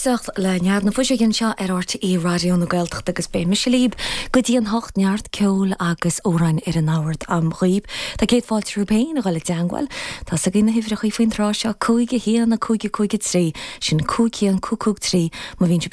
éisteacht le Nead na Fuiseoige anseo ar RTÉ Raidió na Gaeltachta agus beidh mise libh go dtí an hocht, neart ceoil agus amhráin ar an mbord a'm dhaoibh. Tá céad fáilte romhaibh féin a dhul i dteangmháil. Tá 's agaibh na huimhreacha faoin tráth seo, 5 1 5 5 3, sin 5 1 5 5 3 má bhíonn sibh.